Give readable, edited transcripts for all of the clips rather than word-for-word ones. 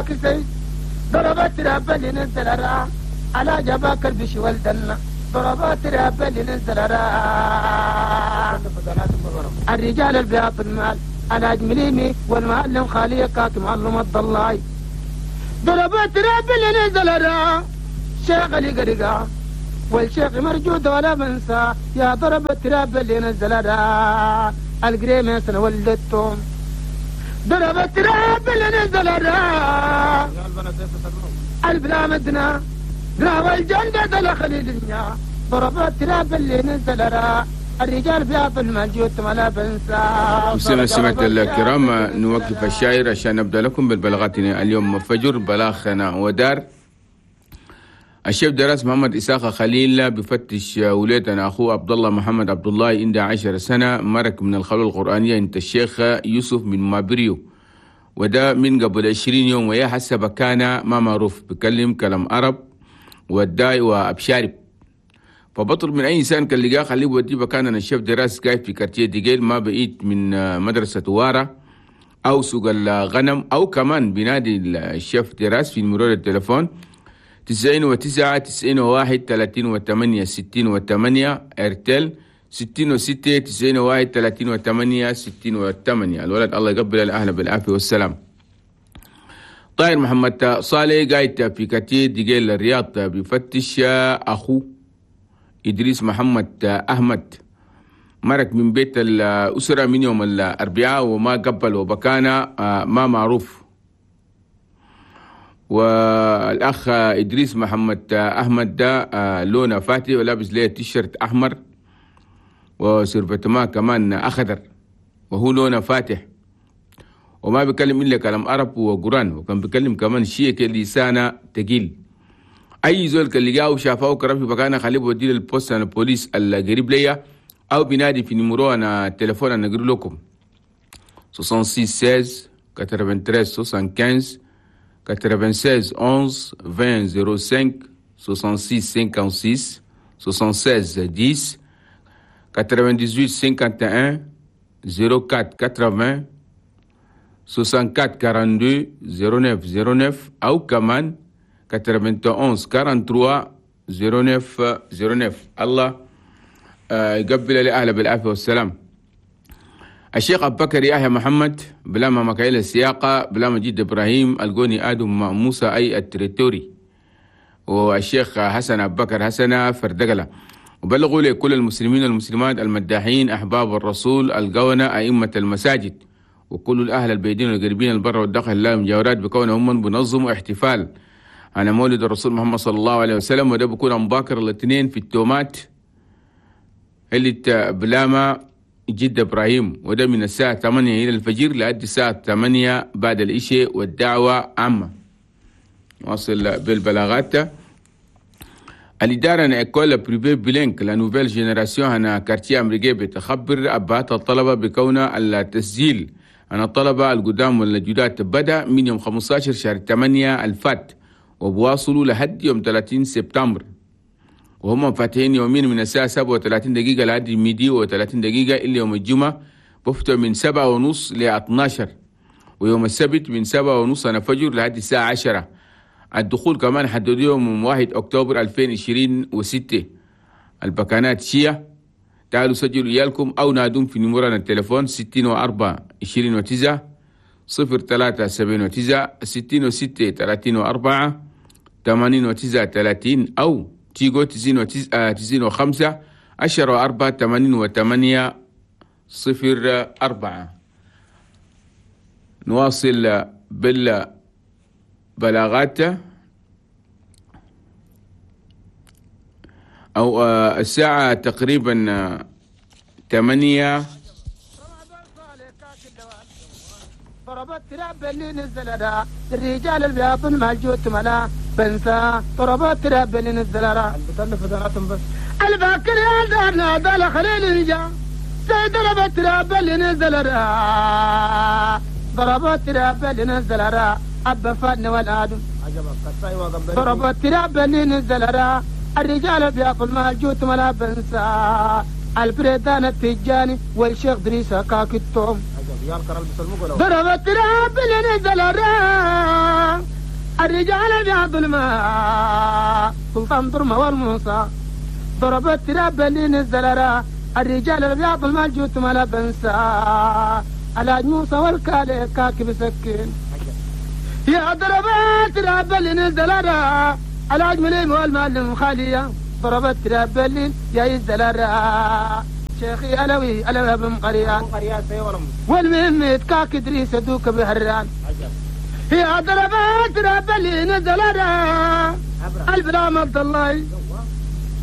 كسي ضربت راب اللي نزل را على جباك البش والدنا ضربات راب اللي نزل را الرجال البياض المال على جمليمي والمعلم خاليقات معلم الضلاي ضربات راب اللي نزل را شيخ اللي قرقا والشيخ مرجود ولا بنسى يا ضربت راب اللي نزل را القريمة سنة ولدتهم ضربت راب اللي نزل را البلا مدنا راوى الجنة دخل الدنيا ضربت راب اللي نزل را الرجال بياض المال ولا بنسى. مستمعات الكرام، نوقف الشاعر عشان نبدأ لكم بالبلاغاتنا اليوم فجر. بلاغنا ودار الشيخ دراس محمد إساق خليل بفتش وليتنا أخوه عبد الله محمد عبد الله عنده 10 سنة، مرك من الخلوة القرآنية انت الشيخ يوسف من مابريو، وده من قبل 20 يوم، ويا حسب كان ما معروف بكلم كلام عرب والداي وأبشارب. فبطل من أي إنسان كان لقاه خليه ودي بكان الشيخ دراس قاعد في كارتيه ديجيل ما بعيد من مدرسة وارة أو سوق الغنم، أو كمان بنادي الشيخ دراس في مرور التليفون 99 91 38 68 ارتل 66 91 38 68. الولد الله يقبل الأهل بالعافية والسلام. طاهر محمد صالح قاعد في كتير دقيل الرياض بيفتش أخوه إدريس محمد أحمد، مرك من بيت الأسرة من يوم الأربعاء وما قبل وبكانة ما معروف. والأخ إدريس محمد أحمد ده لونه فاتي ولابس ليه تيشيرت أحمر وسيرفتما كمان أخضر، وهو لونه فاتح وما بيكلم إلا كلام عرب وقرآن، وكان بيكلم كمان شيء لسانه تقيل. أي زول كان لقاه وشافه وكرم في مكانه خليه بوديه لل poste أنا البوليس القريب ليا، أو بينادي في numéro أنا التليفون أنا أقول لكم 66 16 93 75 96 11 20 05 66 56 76 10 98 51 04 80 64 42 09 09 أو كمان 91 43 09 09. الله يقبل لأهله بالعافية والسلام. الشيخ أبو بكر يحيى محمد بلا ما مكايل السياقة بلا مجيد إبراهيم القوني آدم موسى أي التريتوري، والشيخ حسن أبو بكر حسن فردقلة. وبلغوا لكل المسلمين والمسلمات المداحين أحباب الرسول القونة أئمة المساجد وكل الأهل البيدين والقريبين البر والداخل لا المجاورات بكونهم بنظموا احتفال على مولد الرسول محمد صلى الله عليه وسلم، وده بيكون مباكر الاثنين في التومات اللي بلاما جد إبراهيم، وده من الساعة 8 إلى الفجر لأدي الساعة 8 بعد العشاء، والدعوة عامة. واصل بالبلاغات. الإدارة école privée bilingue la nouvelle génération هنا quartier أمريكي بتخبر أبهات الطلبة بكون التسجيل أن الطلبة القدام والجداد بدأ من يوم 15 شهر 8 الفات وبواصلوا لحد يوم 30 سبتمبر، وهم فاتحين يومين من الساعة 37 دقيقة لحد midi و30 دقيقة إلا يوم الجمعة بفتوا من 7:30 ل 12، ويوم السبت من 7:30 أنا فجر لحد الساعة 10. الدخول كمان حددوا يوم 1 أكتوبر 2026. البكانات شيا تعالوا سجلوا إيالكم أو نادون في نمرنا التليفون 64 29 03 79 66 34 89 30 أو تيجو 95 10 4 88 04. نواصل بالبلاغات. أو الساعة تقريبا 8. ضربت راب اللي نزل الرجال البياض مالجوت ملا بنسى ضربت راب اللي نزل بس الباكر يا دارنا دال خليل رجا ضربت راب اللي نزل ضربت راب اللي نزل أبا فن والآدم ضربت راب اللي نزل الرجال البياض مالجوت ملا بنسى البريدان التجاني والشيخ دريسة كاكتهم ضرب التراب اللي نزل الرجال بيعض الماء سلطان درمة والموسى. ضرب التراب اللي نزل الرجال الابيض المال جوت ما لا بنسى الحاج موسى والكالي كاكب سكين. يا ضرب التراب اللي نزل الحاج مليم والمعلم خالية. ضرب التراب اللي يا يزل شيخي ألوي ألوي بن قريان والمهم كاك إدريس دوك بهران. يا ضرب التراب اللي نزل البلام عبد الله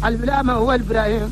البلامة هو إبراهيم.